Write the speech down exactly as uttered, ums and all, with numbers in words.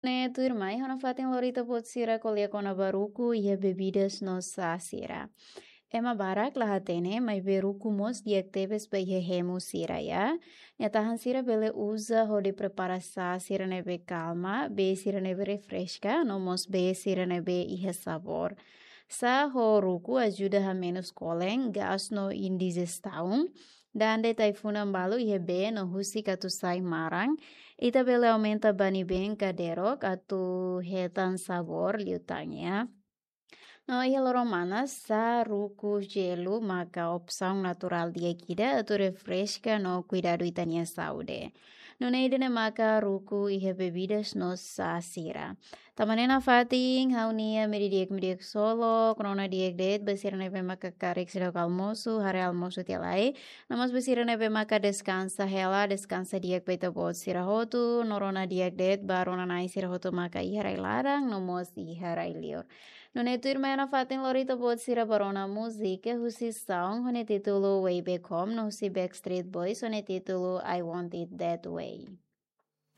Ne'e tuirmai, ha'u nafatin lori ita-boot sira ko'alia kona-ba ruku iha bebidas no sá sira. Ema barak la hatene, maibé ruku mós di'ak tebes ba iha hemu sira, ya. Nia tahan sira bele uza hodi prepara sá sira ne'ebé kalma, bee sira ne'ebé refreska, no mós bee sira ne'ebé iha sabór. Sá ho ruku ajuda hamenus kolen, gás no indigestaun. Dandet ai-funan balu iha bee no husik atu sai maran. Ita bele aumenta bani-been ka derok atu hetan sabór liután, ya. No iha loron manas, sá, ruku, jelu maka opsaun naturál di'ak ida atu refreska no kuidadu ita-nia saúde. Nune'e ida-ne'e maka ruku iha bebidas no sá sira. Tanba ne'e nafatin, ha'u-nia imi di'ak, imi di'ak solo, rona di'ak de'it ba sira ne'ebé maka karik seidauk almosu, haree almosu tiha lai. No mós ba sira ne'ebé maka deskansa hela, deskansa di'ak ba ita-boot sira hotu, no rona di'ak de'it ba rona-na'in sira hotu maka iha rai laran, no mós iha rai liur. Nune'e tuirmai ha'u nafatin lori ita-boot sira ba rona múzika husi Sound ho nia títulu Way Back Home, no husi Backstreet Boys ho nia títulu I Want It That Way.